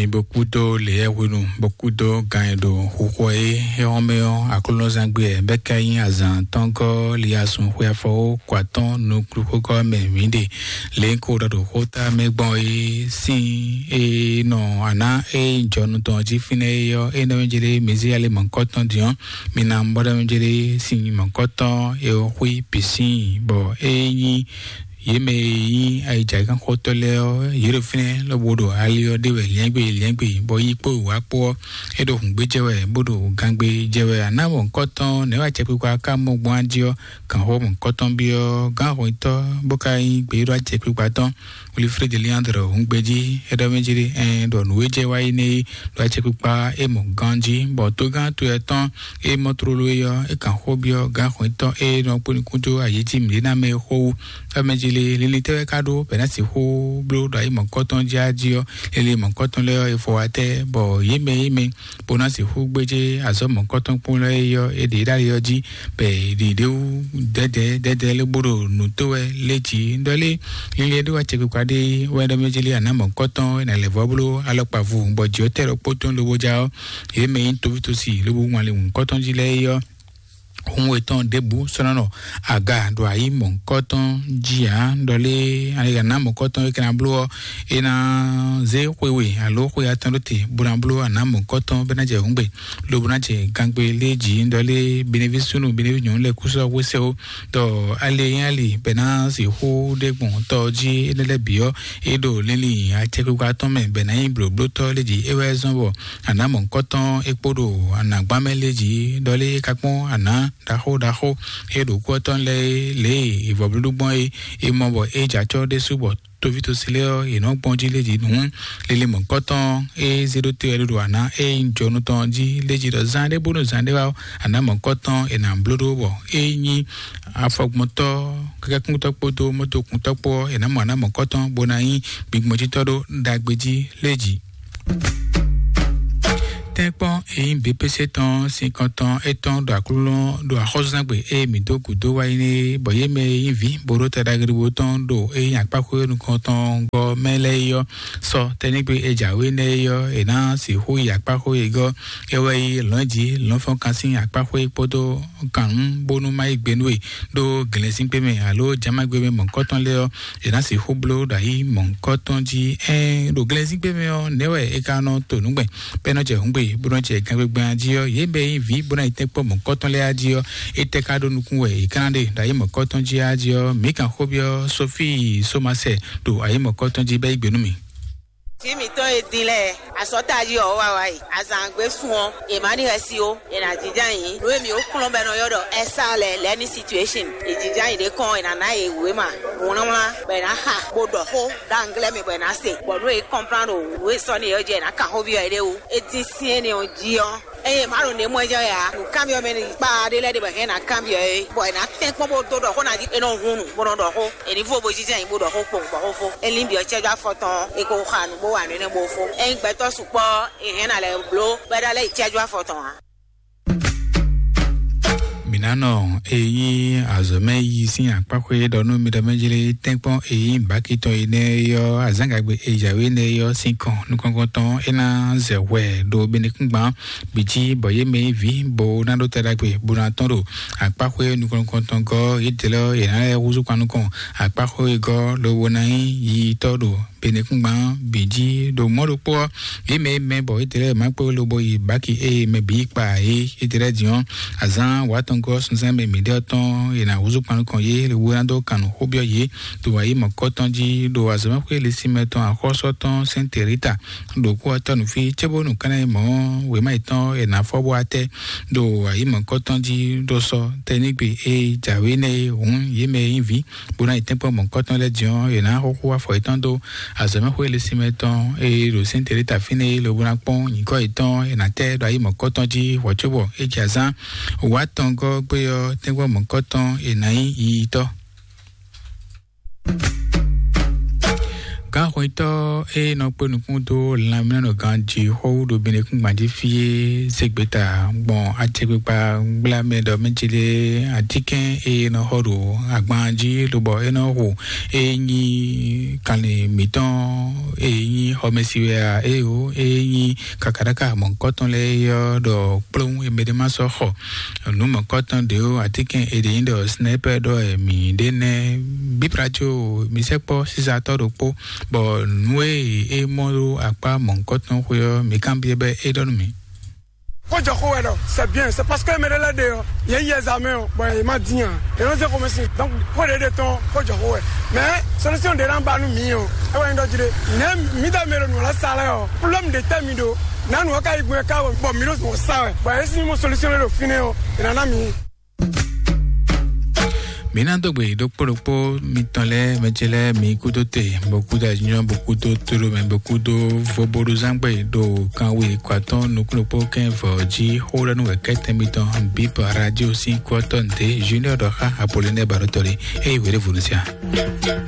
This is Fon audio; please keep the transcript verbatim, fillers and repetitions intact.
Mi bó kú dó lě e hwenu bó kú dó gan e ɖo xuxɔ é é hɔn mɛ ɔ́, aklúnɔzán gbe ɛ bɛ́ ká nyí azǎn tɔn gɔ́ li asun xwe afɔ ó kɔ atɔ́n nuklu xógɔ́ mɛ mǐ ɖe. Lě ko ɖɔ ɖo xóta mɛ gbɔn é sín é nɔ àná é jɔnu tɔn jí fínɛ́ é ɔ́, é nɔ jɛ ɖé mezí ale mɔ̌kɔtɔn din ɔ́, mi ná bɔ ɖɔ jɛ ɖé sín mɔ̌kɔtɔn é xwí pisín bɔ é nyí yě mɛ e nyí ayǐjǎgánxɔtɔ́ lɛ́ɛ ɔ́, yě ɖo fínɛ́ lobo ɖo ali ɔ́ ɖe wɛ liɛ́ngbé liɛ́ngbé, bɔ yi kpó wǎ kpó ɔ́, é ɖo hǔngbé jɛ wɛ, bó ɖo gangbé jɛ wɛ. Aná mɔ̌hunkɔtɔn nɛ̌ wɛ acɛkpikpa ka mɔ gbɔn á jí ɔ́, gǎnxó mɔ̌hunkɔtɔn byɔ́ gǎnxɔnyitɔ́, bó ka nyí gbeyíɖɔ acɛkpikpa tɔn Wilfred Leandre hǔngbé jí. É ɖɔ mɛ jí ɖé, ɛn ɖɔ nǔ e jɛ wá yi n'i ɖo acɛkpikpa é mɔ ganjí, bɔ tógán to ɛ tɔn é mɔ tlóló é ɔ́, é kan xó byɔ́ gǎnxɔnyitɔ́ é nɔ kpó nukún dó ayǐ jí mǐɖénámɛ é xó wú. Ɔ́ mɛ jí lé, linlin tɛ́ wɛ ka ɖó bɔ è nǎ sixú bló ɖo ayǐ mɔ̌kɔtɔn jí á jí ɔ́? Linlin mɔ̌kɔtɔn lɛ́ɛ ɔ́, è fɔ wá tɛ́, bɔ yě mɛ yě mɛ bó ná sixú gbéjé azɔ̌ mɔ̌kɔtɔn kpó lɛ́ɛ é ɔ́, é ɖě ɖ'ali ɔ́ jí, bɔ è ɖě ɖé wú dɛ́dɛ́ dɛ́dɛ́ lé bó ɖo nǔ tó wɛ lé jí. Ɖɔ lé, linlin e ɖó acɛkpikpa ɖé wɛ ɖɔ mɛ jí lé, àná mɔ̌kɔtɔn é nǎ lɛ́ vɔ́ bló alɔkpa vu, bɔ jǐ ɔ́ tɛ́ ɖɔ kpó tɔn lobo já ɔ́, yě mɛ nyí toví tosí lobo ŋun ali mɔ̌kɔtɔn jí lɛ́ɛ é ɔ́, hun etɔn ɖěbǔ sɔ́ nɔ nɔ aga ɖo ayǐ mɔ̌hunkɔtɔn jí ǎ. Ɖɔ lé, ali ná mɔ̌hunkɔtɔn e ka ná bló ɔ́, é ná zé xwe we alo xwe atɔn ɖó te bó ná bló aná mɔ̌hunkɔtɔn bɔ é ná jɛ hǔngbe, lobo ná jɛ gangbe lé jí. Ɖɔ lé, beneví súnnu beneví nyɔ̌nu lɛ́ɛ kú sɔ́ xwésɛ́ ó. Ɖɔ ali e nyí ali bɔ é ná sixú ɖe gbɔn tɔ jí énɛ́ lɛ́ɛ bǐ ɔ́, é ɖo linlin acɛkpikpa tɔn mɛ bɔ é ná nyí blǒblótɔ́ lé jí. É wɛ zɔ́n bɔ aná mɔ̌hunkɔtɔn é kpó ɖo anǎgbán mɛ lé jí. Ɖɔ lé, é ka kpɔ́n aná ɖaxó ɖaxó e ɖo kú ɔ́ tɔn lɛ́ɛ é, lě e è vɔ blúɖú gbɔn é, è mɔ bɔ é jɛ acɔ́ ɖésú bɔ toví tosí lɛ́ɛ ɔ́, è nɔ́ gbɔn jí lé jí nǔ. Lili mɔ̌kɔtɔn e zé ɖó te wɛ ɖo ana e nyí jɔnu tɔn jí lé jí ɖɔ zán ɖé bónú zán ɖé wá ɔ́, ana mɔ̌kɔtɔn è nǎ bló ɖó bɔ é nyí afɔgbɔntɔ́ kɛkɛkúntɔ́ kpódó mɔ́tokúntɔ́ kpó ɔ́, è nǎ mɔ ana mɔ̌kɔtɔn bó ná nyí gbigbɔnjítɔ́ ɖó ɖagbe jí lé jí. Tɛ́nkpɔ́n e nyí B P C tɔn sinkɔntɔn étɔn ɖo aklúnɔ ɖo axɔ́súzángbe e mǐ dó gǔdo wá yi nɛ́, bɔ yě mɛ e nyí vǐ bo ɖó ta ɖagbe tɔn ɖo e nyí akpáxwé nukɔntɔn gɔ́ mɛ lɛ́ɛ é ɔ́, sɔ tɛ́nɛ́gbe e jǎwe nɛ́ é ɔ́, è nǎ sixú yi akpáxwé e gɔ́ é wɛ nyí lɔ̌njǐ lɔ̌nfɔ́nkan sín akpáxwé kpódó gǎnnú bónú má yí gbe nú we ɖó glɛ̌nzíngbe mɛ alo jǎmagbe mɛ mɔ̌kɔtɔn lɛ́ɛ ɔ́, è nǎ sixú bló ɖo ayǐ mɔ̌hunkɔtɔn jí. Ɛɛn, ɖo glɛ́nzíngbe mɛ ɔ́, nɛ̌ wɛ è ka nɔ to nǔgbɛn bɔ é nɔ jɛ hǔngbe bó nɔ jɛ gangbegban jí ɔ́? Yě mɛ e nyí vǐ bó ná yi tɛ́nkpɔ́n mɔ̌kɔtɔn lɛ́ɛ á jí ɔ́, étɛ́ ka ɖó nukún wɛ è ka ná ɖe ɖo ayǐ mɔ̌kɔtɔn jí á jí ɔ́? Mǐ kan xó byɔ́ Sofíi Somasɛ ɖo ayǐ mɔ̌kɔtɔn jí bɔ é yí gbe nú mì. Vǐ mǐtɔn e din lɛ́ɛ, asɔ́tají ɔ́ wá wá yi. Azǎngbe sun ɔ́, è má ɖi xɛsi ó, è nǎ jínjɔ́n ayǐ. Nǔ e mǐ ó kplɔ́n bɔ è nɔ ylɔ́ ɖɔ ɛ́sá lɛ́ɛ, lɛ́ní situéshɔn. È jínjɔ́n ayǐ ɖé kɔn, è nǎ ná yě wěma wlánwlán, bɔ è nǎ xa, bó ɖɔ xó ɖo anglɛ́ mɛ, bɔ è nǎ se. Bɔ nǔ e kɔnplán ɖo nǔ e sɔ́ n'i é ɔ́ jí, è nǎ kan xó byɔ́ yě ɖé wú. É dín syɛ́n énɛ́ ɔ́ jí ɔ́, ényí è má ɖo nǔ e mɔ ɛ jɛ wɛ ǎ, nǔkanbyɔ́ mɛ ní kpa ɖé lɛ́ɛ ɖe bɔ è hɛn ná kanbyɔ́ é, bɔ è nǎ tɛ́nkpɔ́n bó dó ɖɔ xó ná jí, è nɔ hun nǔ bó nɔ ɖɔ xó. È ní vo bo jínjɔ́n ayǐ bó ɖɔ xó kpowun bɔ xó fó. É lín byɔ́ cɛ́jú afɔ tɔn ɔ́, è ko xa nǔ bó wa nǔ énɛ́ bó fó. Ényí gbɛtɔ́ sukpɔ́ ɔ́, è hɛn ná lɛ́ bló bɔ é ná lɛ́ yi cɛ́jú afɔ tɔn ǎ. Mǐ ná nɔ e nyí azɔ̌mɛ yi sín akpáxwé ɖɔ nú mi ɖɔ mɛ jlé tɛ́nkpɔ́n e nyí bǎkitɔn énɛ́ ɔ́, azǎngagbe e jǎwe énɛ́ ɔ́ sín kɔn nukɔn tɔn é ná zɛ hwɛ ɖo benekúngban bǐ jí, bɔ yě mɛ nyí vǐ bo ná ɖó ta ɖagbe bó ná tɔ́n ɖo akpáxwé nukɔn nukɔntɔn gɔ́ yědɛɛ lɛ́ɛ ɔ́, yě ná lɛ́ húzú kpan nukɔn akpáxwé gɔ́ lobo ná nyí yiyitɔ́ ɖo benekúngban bǐ jí. Ɖo mɔ̌ ɖokpó ɔ́, yě mɛ e mɛ bɔ yědɛɛ lɛ́ɛ má kpé lobo yi bǎki ée mɛ bǐ kpa yě yědɛɛ lɛ́ɛ din ɔ́, azǎn wǎtɔngɔ́ sunzán mɛ mǐɖée ɔ́ tɔn, yě ná húzú kpan nukɔn yě lobo ná dó kan nǔ xó byɔ́ yě ɖo ayǐ mɔ̌kɔtɔn jí ɖo azɔ̌mɛxwé Lisímɛ tɔn axɔ́sú tɔn Sɛ́nte Rita ɖo kú ɔ́ tɔ́ nǔ fí, cóbónú kánná e mɔ̌ wěma yětɔn è nǎ fɔ bó wá tɛ́ ɖo ayǐ mɔ̌kɔtɔn jí ɖo sɔ tɛnígbe e jǎwe nɛ́ é hǔn yě mɛ e nyí vǐ bó ná yi tɛ́nkpɔ́n mɔ̌kɔtɔn lɛ́ɛ din ɔ́, è nǎ xúxú afɔ yětɔn dó azɔ̌mɛxwé Lisímɛ tɔn e ɖo Sɛ́nte Rita fínɛ́ é lobo ná kpɔ́n nyǐkɔ yětɔn è nǎ tɛ́ ɖo ayǐ mɔ̌kɔtɔn jí hwɔ̌ cóbɔ é jɛ azán wǎtɔngɔ́ gbé ɔ́ tɛ́nkpɔ́n mɔ̌kɔtɔn è nǎ nyí yiyitɔ́. Gǎnxwetɔ́ e nɔ kpé nukún dó lanmɛnɔganjí xó ɖo Benɛkúngban jí fí é zé gbeta gbɔn acɛkpikpa gblamɛ ɖɔ mɛ ce lé atínkɛn e nɔ xɔ ɖo agban jí lobɔ é nɔ xo e nyí kanlin mǐtɔn e nyí xɔmɛsi wɛ a, eye o e nyí kakaɖaka mɔ̌hunkɔtɔn lɛ́ɛ é ɔ́ ɖɔ kplɔ́n e mɛ ɖé ma sɔ́ xɔ nǔ mɔ̌hunkɔtɔn ɖě ó, atínkɛn e ɖě nyí ɖɔ snɛ́pɛ ɖɔ mǐ ɖe nɛ́. Bíbrajo mǐ sɛkpɔ́ sísatɔ́ ɖokpó, bɔ nǔ e é mɔ ɖó akpá mɔ̌hunkɔtɔn xwe ɔ́, mǐ kanbyɔ́ bɔ é ɖɔ nú mì. Kó jɔ xó wɛ ɖɔ c'est bien, c'est parce que mɛ ɖé lɛ́ɛ ɖe ɔ́, yě yi ɛzamɛ ɔ́, bɔ yě ma dín ǎ. Yě nɔ zé xomɛ sin. Donc xó ɖě ɖe tɔn kó jɔ xó wɛ. Mais solution ɖě ná ba nú mǐ ɔ́, é wɛ nyí ɖɔ jí ɖé. Nɛ̌ mǐ ɖɔ mɛ ɖo nǔ lɛ́ɛ sa lɛ́ɛ ɔ́, problème ɖě tɛ́ mi ɖo. Nǎ nǔ ɔ́ ka yi gbɔn ká wɛ, bɔ mǐ ɖo nǔ ɔ́ sa wɛ. Bɔ yě sín mɔ solution ɖé ɖo fínɛ́ ɔ́, è nǎ ná mǐ. Mǐ ná dó gbe ɖokpó ɖokpó mitɔn lɛ́ɛ, mɛ ce lɛ́ɛ, mi kúdó te, bó kúdó azɔ̌, bó kúdó tóɖó mɛ, bó kúdó voboɖuzángbe ɖo kanwe kɔatɔn nukúnnukpó kɛ́n vɔ jí xó ɖɔ nú wɛ̌kɛ́tɛn mitɔn Bip Radio sín kú ɔ́ tɔn ɖě Junior ɖɔ xá Apollinaire Baɖótɔ́ ɖé. Eye wěɖé vodúnsia.